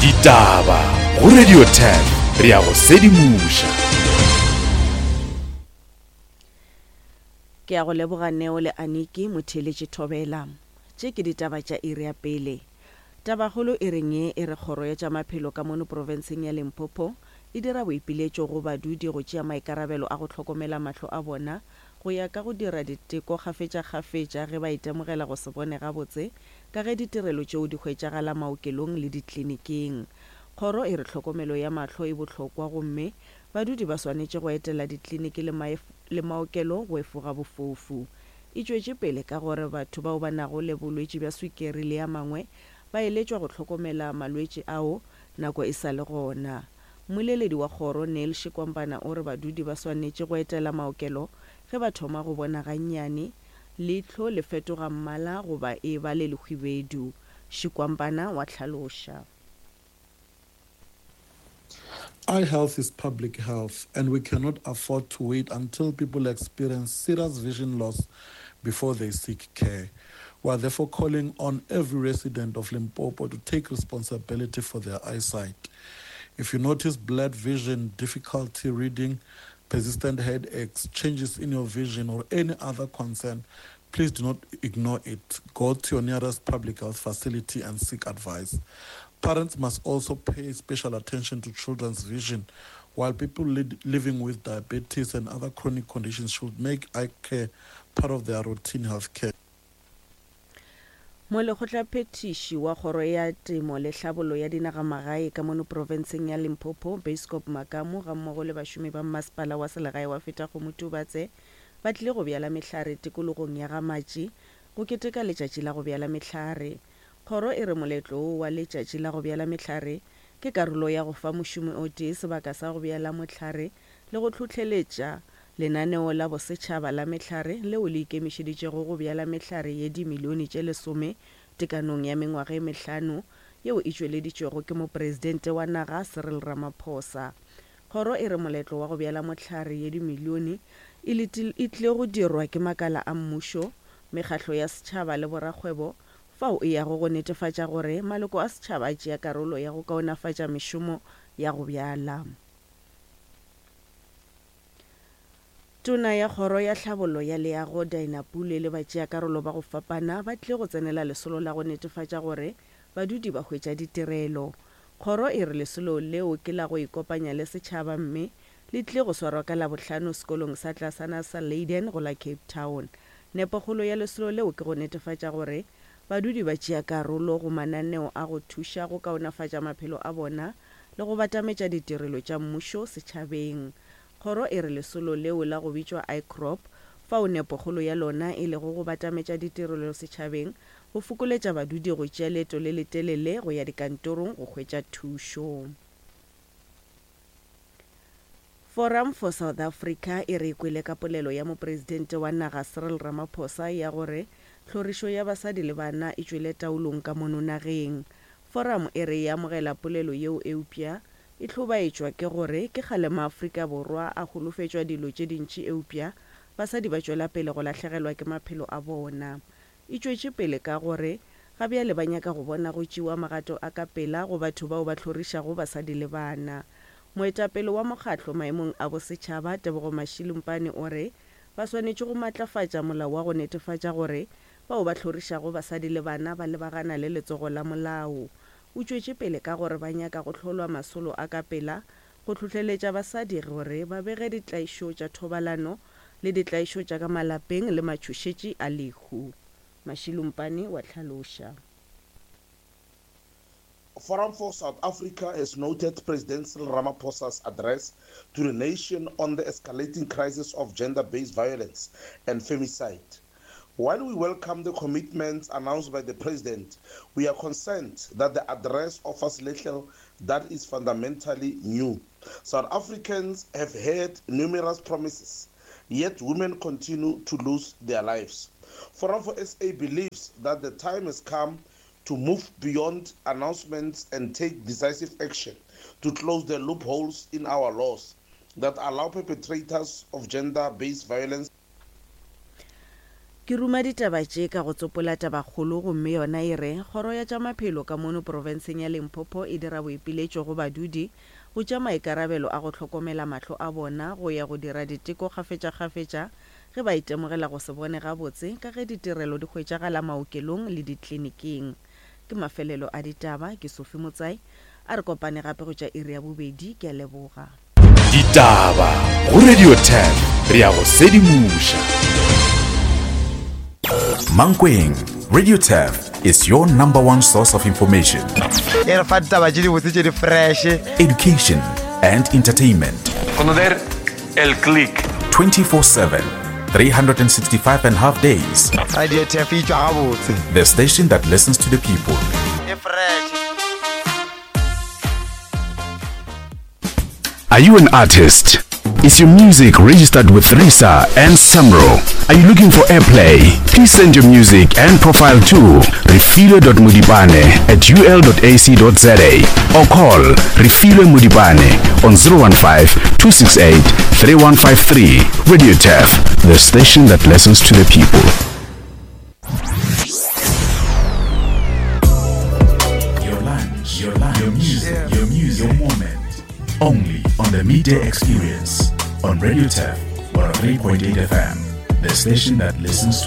Ditaba go Radio 10 re a go sedimoša. Ke a go leboga Neo le Aniki, motheeletši Thobela. Tše ke ditaba tša iri ya pele. Tabakgolo e reng ye e re Kgoro ya tša Maphelo ka mono profenseng ya Limpopo e dira boipiletšo go badudi go tšea maikarabelo a go hlokomela mahlo a bona go ya ka go dira diteko kgafetšakgafetša ge ba itemogela go se bone gabotse ka ge ditirelo tšeo di hwetšagala maokelong le dikliniking. Kgoro e re hlokomelo ya mahlo e bohlokwa gomme badudi ba swanetše go etela dikliniki le le maokelo go efoga bofofu. E tšwetše pele ka gore batho bao ba nago le bolwetši bja swikeri le a mangwe ba eletšwa go hlokomela malwetši ao nako e sa le gona. Mmoleledi wa kgoro Neil Shikwambana o re badudi ba swanetše go etela maokelo ge ba thoma go bona gannyane leihlo le fetoga mmala goba e ba le lehwibedu. Shikwambana wa hlaloša. Eye health is public health, and we cannot afford to wait until people experience serious vision loss before they seek care. We are therefore calling on every resident of Limpopo to take responsibility for their eyesight. If you notice blurred vision, difficulty reading, persistent headaches, changes in your vision, or any other concern, please do not ignore it. Go to your nearest public health facility and seek advice. Parents must also pay special attention to children's vision, while people living with diabetes and other chronic conditions should make eye care part of their routine health care. Molekgotlaphethiši wa Kgoro ya Temo le Hlabollo ya Dinagamagae ka mono profenseng ya Limpopo, Beiskop Makamu gammogo le bašomi ba mmasepala wa selegae wa Fetakgomo Tubatse ba tlile go bjala mehlare tikologong ya Ga-Matši go keteka letšatši la go bjala mehlare. Kgoro e re moletlo wo wa letšatši la go bjala mehlare ke karolo ya go fa mošomi o tee sebaka sa go bjala mohlare le go hlohleletša lenaneo la bosetšhaba la mehlare leo le ikemišeditšego go bjala mehlare ye dimilione tše lesome tekanong ya mengwaga e mehlano yeo e tšweleditšwego ke Mopresidente wa naga Cyril Ramaphosa. Kgoro e re moletlo wa go bjala mohlare ye dimilione e e tlile go dirwa ke makala a mmušo, mekgahlo ya setšhaba le borakgwebo fao e yago go netefatša gore maloko a setšhaba a tšea karolo ya go kaonafatša mešomo ya go bjala. Tona ya Kgoro ya Tlhabollo ya Leago, Dinah Pule le batšeakarolo ba go fapana ba tlile go tsenela lesolo la go netefatša gore badudi ba hwetša ditirelo. Kgoro e re lesolo leo ke la go ikopanya le setšhaba mme le tlile go swarwa ka Labohlano sekolong sa tlasana sa Leyden go la Cape Town. Nepokgolo ya lesolo leo ke go netefatša gore badudi ba tšea karolo go mananeo a go thuša go kaonafatša maphelo a bona le go batametša ditirelo tša mmušo setšhabeng. Kgoro e re lesolo leo la go bitšwa ICROP, fao nepokgolo ya lona e lego go batametša ditirelo setšhabeng, go fokoletša badudi go tšea leeto le letelele go ya dikantorong go hwetša thušo. Forum for South Africa e re e kwele ka polelo ya Mopresidente wa naga Cyril Ramaphosa ya gore tlhorišo ya basadi le bana e tšwele taolong ka mono nageng. Forum e re e amogela polelo yeo eupša e hlobaetšwa ke gore ke kgale maAfrika Borwa a holofetšwa dilo tše dintši eupša basadi ba tšwela pele go lahlegelwa ke maphelo a bona. E tšwetše pele ka go re ga bjale ba nyaka go bona go tšewa magato a ka pela go batho bao ba hlorišago basadi le bana. Moetapele wa mokgatlo maemong a bosetšhaba, Tebogo Mashilumpane o re ba swanetše go matlafatša molao wa go netefatša gore bao ba hlorišago basadi le bana ba lebagana le letsogo la molao. O tšwetše pele ka gore ba nyaka go hlolwa masolo a ka pela go hlohleletša basadi gore ba bege ditlaišo tša thobalano le ditlaišo tša ka malapeng le matšhošetši a lehu. Mashilumpane wa hlaloša. Forum for South Africa has noted President Cyril Ramaphosa's address to the nation on the escalating crisis of gender-based violence and femicide. While we welcome the commitments announced by the president, we are concerned that the address offers little that is fundamentally new. South Africans have heard numerous promises, yet women continue to lose their lives. Forum for SA believes that the time has come to move beyond announcements and take decisive action to close the loopholes in our laws that allow perpetrators of gender based violence. Ke ruma ditaba tše ka go tsopola tabakgolo gomme yona e re, Kgoro ya tša Maphelo ka mono profenseng ya Limpopo e dira boipiletšo go badudi go tšea maikarabelo a go hlokomela mahlo a bona go ya go dira diteko kgafetšakgafetša ge ba itemogela go se bone gabotse ka ge ditirelo di hwetšagala maokelong le dikliniking. Ke mafelelo a ditaba, ke Sophie Motsai. A re kopane gape go tša iri ya bobedi. Ke a leboga. Ditaba go Radio 10 re a go sedimoša. Mankweng, Radio Turf is your number one source of information. E re fa ditaba tše dibotse tše di fresh. Education and entertainment. Conocer el click. 24/7, 365 and half days. Radio Turf e tšwa gabotse. The station that listens to the people. E fresh. Are you an artist? Is your music registered with RISA and SAMRO? Are you looking for airplay? Please send your music and profile to refilwe.modipane at ul.ac.za or call Refilwe Modipane on 015 268 3153. Radio Turf, the station that listens to the people. Your lunch, your lunch, your music, your music, your moment. Only on the Midday Experience on Radio Turf 103.8 FM, the station that listens to